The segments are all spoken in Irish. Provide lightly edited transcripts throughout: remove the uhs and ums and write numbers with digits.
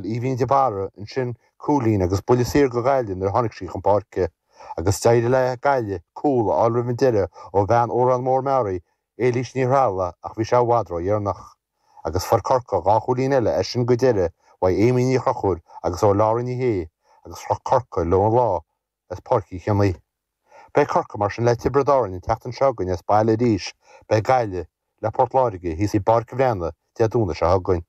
Aoibhín de Barra ansin cúilín agus buille saor go Gaillimh nuair a tháinig sí chun páirce. Agus d'éirigh le Gaillimh cúl a fháil roimh an deireadh ó bhean Órán Mór Meáraí, Éilís Ní Threallaigh ach bhí sé i bhfad ródheireanach. Agus fuair Corcaigh 2 chúilín eile as sin go deireadh uaidh Amy Ní Chonchúir agus ó Laura Ní Shé agus chroch Corcaigh leo an lá as Páirc Uí Chionnaith. Beidh Corcaigh mar sin le Tiobraid Árann an tseachtain seo chugainn as baile arís, beidh Gaillimh le Port Láirge thíos i bPáirc an Bhreathnaigh Dé Domhnaigh seo chugainn.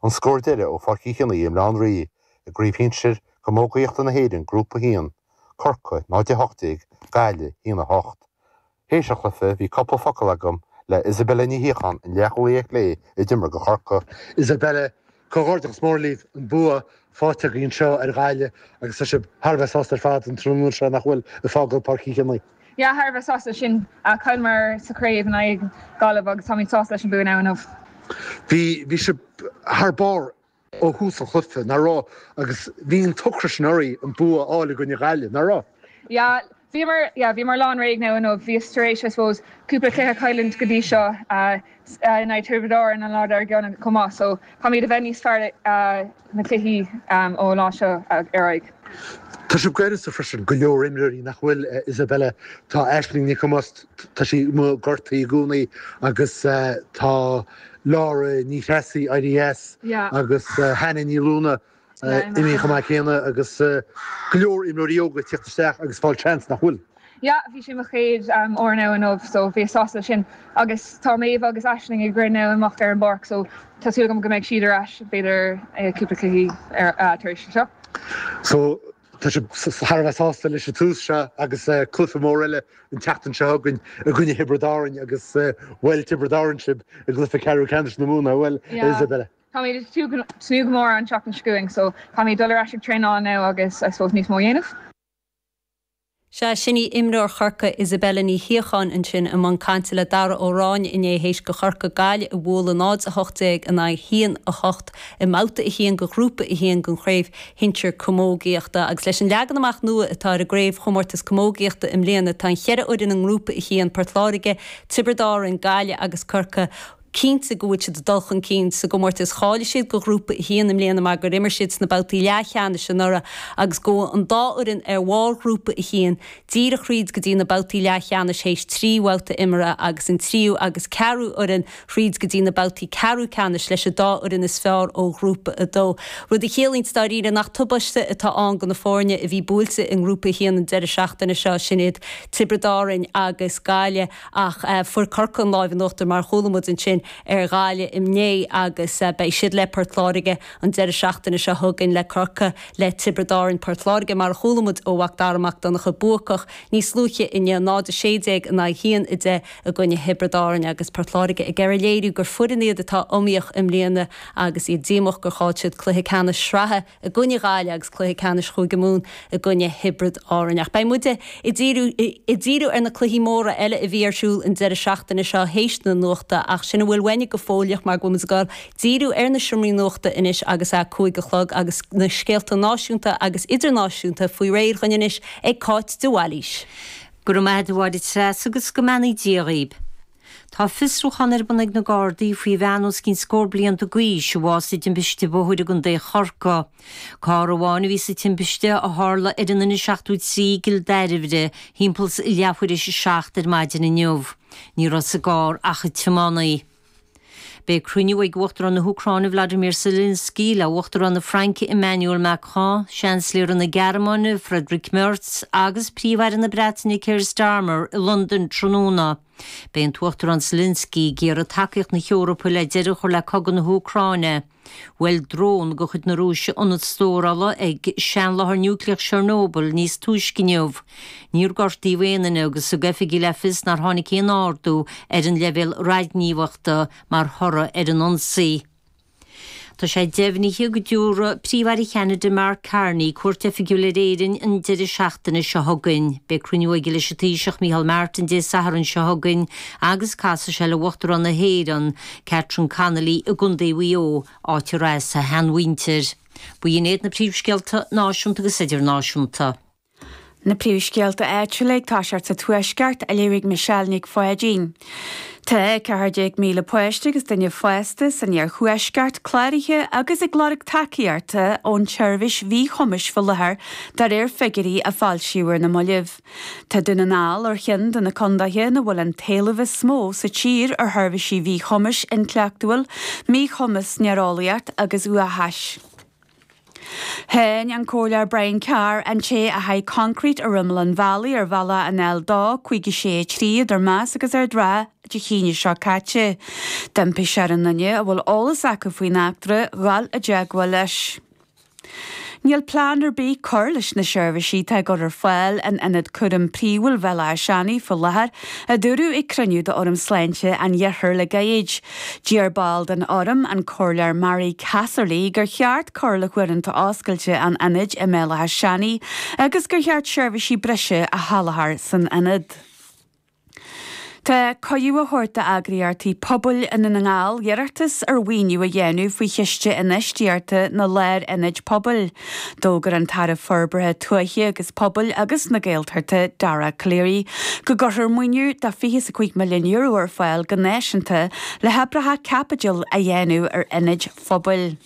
An scór deiridh ó Pháirc Uí Chionnaith i mBaile Átha an Rí i gCraobh Shinsir Camógaíochta na hÉireann, Grúpa 1, Corcaigh 0-18, Gaillimh 1-8. Théis an chluiche bhí cúpla focal agam le Isabella Ní Shíocháin, an leathchúlaí ar chlé a d'imir do Chorcaigh. Isabella, Comhghairdeachas mór libh, an bua faighte agaibh anseo ar Ghaillimh agus tá sibh thar a bheith sásta ar fad an tráthnóna seo nach bhfuil ag fágáil Páirc Uí Chionnaith. Yeah, thar a bheith sásta sin. Chailleamar sa chraobh in aghaidh Gaillimh agus táimid sásta leis an bua now inniu. Bhí, bhí sibh thar barr ó thús an chluiche, nach raibh? Agus bhí an t-ocras sin oraibh an bua a fháil i gcoinne Ghaillimh, nach raibh? Yeah, bhíomar, yeah, bhíomar lán réidh now inniu. Bhíos tar éis, I suppose, cúpla cluiche a chailliúint go dtí seo in aghaidh Tiobraid Árann an lá dár gcionn chomh maith so caithfimid a bheith níos fearr na cluichí ón lá seo ar aghaidh. Tá sibh gaineasa freisin, go leor imreoirí nach bhfuil, Isabella, tá Aisling Nic Thomáis, tá sí amuigh gortaithe i gcónaí agus tá Laura Ní Threasaigh éirithe as agus Hannah Ní Luana imithe chomh maith céanna agus go leor imreoirí óga ag tíocht isteach agus fáil seans nach bhfuil. Yeah, bhí sé mo chéad uair now inniu so bhíos sásta leis sin agus tá Méabh agus Aisling ag rith now amach ar an bpáirc so tá súil agam go mbeidh siad ar ais b'fhéidir cúpla cluichí tar éis seo. So tá sibh thar a bheith sásta leis an tús seo agus cluiche mór eile an tseachtain seo chugainn i gcoinne Thiobraid Árann agus bhuail Tiobraid Árann sibh i gcluiche ceathrú ceannais na Mumhan, bhuel Isabella? Táimid ag tnúth go mór an tseachtain seo chugainn so caithfimid dul ar ais ag traenáil now agus I suppose níos mó a dhéanamh. Sea, sin í imreoir Chorcaí Isabella Ní Shíocháin ansin i mbun cainte le Dara Ó Ráinne inné théis go Chorcaigh Gaillimh a bhualadh 0-18 in aghaidh 1-8 i mbabhta 1 de Ghrúpa 1 den Chraobh Shinsir Camógaíochta. Agus leis an leagan amach nua atá ar an gCraobhchomórtas Camógaíochta i mbliana tá an cheithre fhoireann i nGrúpa 1, Port Láirge, Tiobraid Árann, Gaillimh agus Corcaigh, cinnte go bhfuil siad ag dul chun cinn sa gcomórtas. Cháiligh siad go Ghrúpa 1 i mbliana mar gur imir siad sna babhtaí leathcheannais anuraidh agus gabhfaidh an dá fhoireann ar bharr Ghrúpa 1 díreach thríd go dtí na babhtaí leathcheannais théis 3 bhabhta imeartha agus an tríú agus ceathrú fhoireann thríd go dtí na babhtaí ceathrú ceannais leis an dá fhoireann is fearr ó Ghrúpa 2. Rud a chiallaíonns dáiríre nach tubaiste atá ann do na foirne a bhí buailte i nGrúpa 1 an deireadh seachtaine seo, sin iad Tiobraid Árainn agus Gaillimh. Ach fuair Corcaigh an láimh in uachtar, mar a chuala muid ansin, ar Ghaillimh inné agus beidh siad le Port Láirge an deireadh seachtaine seo chugainn le Corcaigh le Tiobraid Árann. Port Láirge, mar a chuala muid ó Mhac Dara Mac Donncha, buacach níos luaithe inniu, 0-16 in aghaidh 1-10 i gcoinne Thiobraid Árann agus Port Láirge ag iarraidh léiriú gur foireann iad atá iomaíoch i mbliana agus iad díomách gur chaill siad cluiche ceannais sraithe i gcoinne Ghaillimh agus cluiche ceannais Chúige Mumhan i gcoinne Thiobraid Árann. Ach beidh muide ag díriú ag díriú ar na cluichí móra eile a bhí ar siúl an deireadh seachtaine seo théis na nuachta ach sin a bhfuil uainne go fóilleach mar go bhfuil muid ag dul díriú ar na seomraí nuachta anois agus a 5 a chlog agus na scéalta náisiúnta agus idirnáisiúnta faoi réir dhuinn anois ag Cáit de Bhailís. Go raibh maith agat a Mháire Treasa agus go mbeannaí Dia dhaoib. Tá fiosrúchán ar bun ag na Gardaí faoi bhean os cionn scór blianta d'aois a bhásaigh i dtimpiste bóthair i gContae Chorcaí. Carr amháin a bhí sa timpiste a tharla ar an N73 i gCill Dairbhre thimpeall leathuair théis a 7 ar maidin inniu. Ní raibh sa gcarr ach an tiománaí. Beidh cruinniú ag Uachtarán na hÚcráine Vladimir Zelensky le Uachtarán na Fraince Emmanuel Macron, Seansailéara na Gearmáine Friedrich Merz agus Príomh-Aire na Breataine Keir Starmer i Londain tráthnóna. Beidh an tUachtarán Zelensky ag iarraidh tacaíocht na hEorpa le deireadh a chur le cogadh na hÚcráine. Bhuail drón de chuid na Rúise ionad stórála ag seanláthair núicléach Chernobyl níos túisce inniu. Níor gortaíodh aon duine agus thug oifigigh le fios nár tháinig aon ardú ar an leibhéal radaighníomhachta mar thoradh ar an ionsaí. Tá sé deimhnithe go dtabharfaidh Príomh-Aire Cheanada Mark Carney cuairt oifigiúil ar Éirinn an deireadh seachtaine seo chugainn. Beidh cruinniú aige leis an Taoiseach Micheál Martin Dé Sathairn seo chugainn agus casfaidh sé le Uachtarán na hÉireann, Catherine Connolly i gContae Mhaigh Eo, áit ar as a sheanmhuintir. B'in iad na príomhscéalta náisiúnta agus idirnáisiúnta. Na príomhscéalta áitiúla ag toiseacht sa Tuaisceart á léamh ag Michelle Nic Pháidín. Tá 14,000 páiste agus duine fásta san iarthuaisceart cláraithe agus ag lorg tacaíochta ón tseirbhís mhíchumais faoi láthair de réir figiúirí a foilsíodh ar na mallaibh. Tá Dún na nGall ar cheann de na condaetha ina bhfuil an t-éileamh is mó sa tír ar sheirbhísí mhíchumais intleachtúil, míchumas néareolaíocht agus uathachais. Cháin an Comhairleoir Brian Carr an té a sháigh coincréit ar imeall an bhealaigh ar bhealach an L2 56 3 idir Meas agus Ard an Rátha Dé hAoine seo caite. D'impigh sé ar aon duine a bhfuil eolas acu faoin eachtra dhul i dteagmháil leis. Níl plean ar bith cur leis na seirbhísí atá á gcur ar fáil in Ionad Cúraim Príomhúil Bhéal Átha Seanaidh faoi láthair, a dúradh ag cruinniú d'Fhóram Sláinte an Iarthair le gairid. D'iarr ball den Fhóram, an Comhairleoir Mary Casserly, gur cheart cur le huaireanta oscailte an ionaid i mBéal Átha Seanaidh agus gur cheart seirbhísí breise a sholáthar san ionad. Tá cuireadh á thabhairt d'eagraíochtaí pobail i nDún na nGall iarratas ar mhaoiniú a dhéanamh faoi Chiste Infheistíochta na Lárionaid Pobail. D'fhógair an tAire Forbartha Tuaithe agus Pobail agus na Gaeltachta, Dara Calleary, go gcuirfear maoiniú de €25 milliún ar fáil go náisiúnta le hoibreacha caipitil a dhéanamh ar ionaid phobail.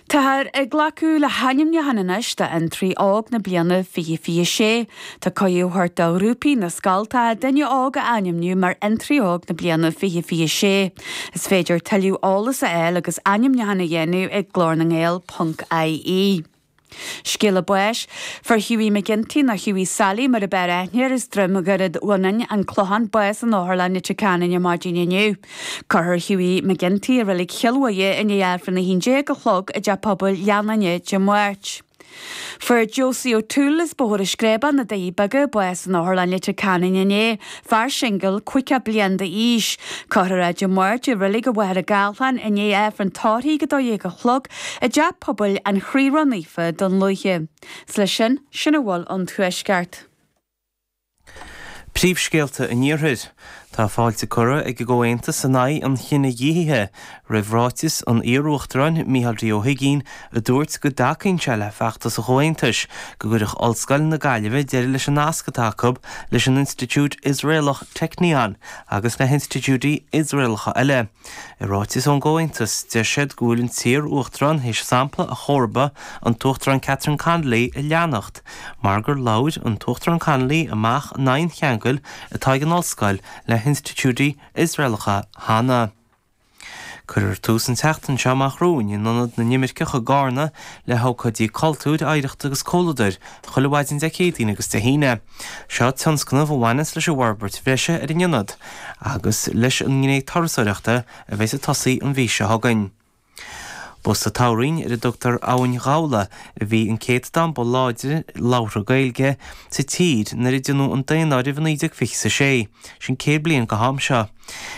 Táthar ag glacadh le hainmniúcháin anois d'Fhiontraí Óg na bliana 2026. Tá cuireadh á thabhairt do ghrúpaí na scoltacha duine óg a ainmniú mar Fhiontraí Óg na bliana 2026. Is féidir tuilleadh eolas a fháil agus ainmniúchán a dhéanamh ag glórnangael ponc ie. Scéala báis, Fuair Hughie McGinty, nó Hughie Sally mar ab fhearr aithne air as Droim Dhoiread Bhionáin, An Clochán, bás in Otharlann Leitir Ceanainn ar maidin inniu. Cuirfear Hughie McGinty i Reilig Chill Mhuire i ndiaidh Aifreann 11 a chlog i dTeach Pobail Leannáine Dé Máirt. Fuair Josie O'Toole as Bóthar na Screabán, Na Doirí Beaga, bás in Otharlann Leitir Ceanainn inné, fear singil, 50 bliain d'aois. Cuirfear é Dé Máirt i Reilig an Mhachaire Gathlán i ndiaidh Aifreann tórraimh ag 12 a chlog i dTeach Pobail an Chroí Ró-Naofa, Dún Lúiche. 'S leis sin, sin a bhfuil ón Tuaisceart. Príomhscéalta an Iarthair. Tá fáilte curtha ag an gComhaontas in aghaidh an chinedhíothaithe roimh ráiteas an iar-uachtaráin Micheál D Ó hUigínn a dúirt go dtacaíonn sé le feachtas an Chomhaontais go gcuirfeadh Ollscoil na Gaillimhe deireadh leis an nasc atá acu leis an institiúid Iosraelach Technion agus le hinstitiúidí Iosraelacha eile. I ráiteas ón gComhaontas, deir siad go bhfuil an t-iar-uachtarán théis sampla a chomharba, an tUachtarán Catherine Connolly, a leanacht, mar gur labhair an tUachtarán Connolly amach in aghaidh an cheangail atá ag an ollscoil le hinstitiúidí Iosraelacha cheana. Cuirfear tús an tseachtain seo amach romhainn in Ionad na nImirceach i gCarna le hócáidí cultúir, oidhreachta agus comhluadair chuile mhaidin Dé Céadaoin agus Dé hAoine. Seo tionscnamh a bhaineanns leis an bhforbairt bhreise ar an ionad agus leis an ngné turasóireachta a bheas ag tosaí an mhí seo chugainn. Ba sa toghroinn ar a dtugtar Abhainn Ghabhla a bhí an céatadán ba láidre labhartha Gaeilge sa tír nuair a déanadh an daonáireamh i 1926, sin 100 bliain go ham seo.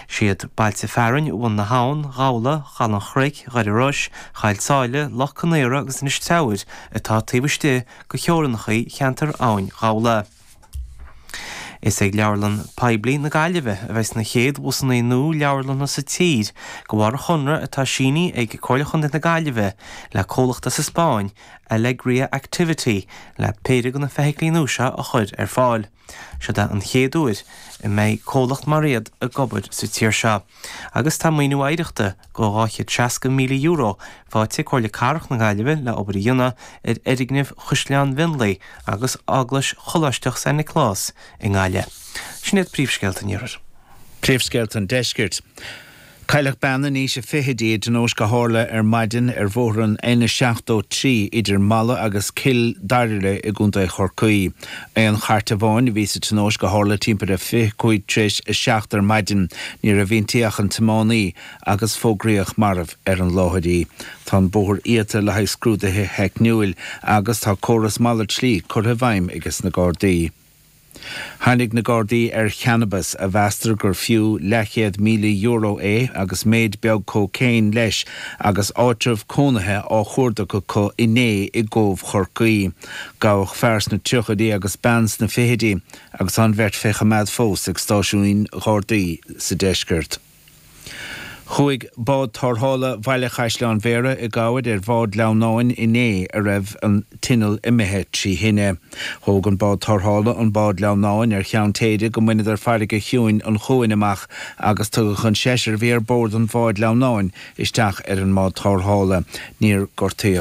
Siad bailte fearainn Bhun na hAbhann, Ghabhla, Chaladh an Chnoic, Dhoire Rois, Choill tSáile, Loch Con Aora agus Inis Treabhair atá taobh istigh de theorainneacha cheantar Abhainn Ghabhla. Is ag Leabharlann Poiblí na Gaillimhe a bheas na chéad bhusanna nua leabharlanna sa tír de bharr an chonradh atá sínithe ag Comhairle Chontae na Gaillimhe le comhlacht as an Spáinn, Alegria Activity, le péire de na feithiclí nua seo a chur ar fáil. Seod é an chéad uair a mbeidh comhlacht mar iad ag obair sa tír seo. Agus tá maoiniú oidhreachta de €260,000 faighte ag Comhairle Cathrach na Gaillimhe le obair a dhéanamh ar fhoirgnimh Chaisleán Mhionlaigh agus Eaglais Choláisteach San Nioclás i nGaillimh. Sin iad príomhscéalta an Iarthair. Príomhscéalta an Deiscirt. Cailleadh bean in aois a fichidí i dtionóisc a tharla ar maidin ar bhóthar an N73 idir Mala agus Cill Dairbhile i gContae Chorcaí. Aon chairt amháin a bhí sa tionóisc a tharla timpeall ar 25 tar éis a 7 ar maidin. Ní raibh inti ach an tiománaí agus fógraíodh marbh ar an láthair í. Tá an bóthar iata le haghaidh scrúduithe theicniúil agus tá córas malairt slí curtha i bhfeidhm ages na Gardaí. Tháinig na Gardaí ar channabas a mheastar gur fiú leathchéad €1,000 é agus méid beag cócaon leis agus áitreabh cónaithe á chuardach acu inné i gCóbh Chorcaí. Gabhadh fear sna tríochaidí agus bean sna fichidí agus tá an bheirt fé choimeád fós ag stáisiúin Ghardaí sa deisceart. Chuaigh bád tarrthála Bhaile Chaisleáin Bhéarra i gcabhair ar bhád sleamhnáin inné a raibh an t-inneall imithe trí thine. Thóg an bád tarrthála an bád sleamhnáin ar cheann téide go mbaineadar farraige chiúin an chuain amach agus tugadh an seisear a bhí ar bord an bháid sleamhnáin isteach ar an mbád tarrthála. Níor gortaíodh.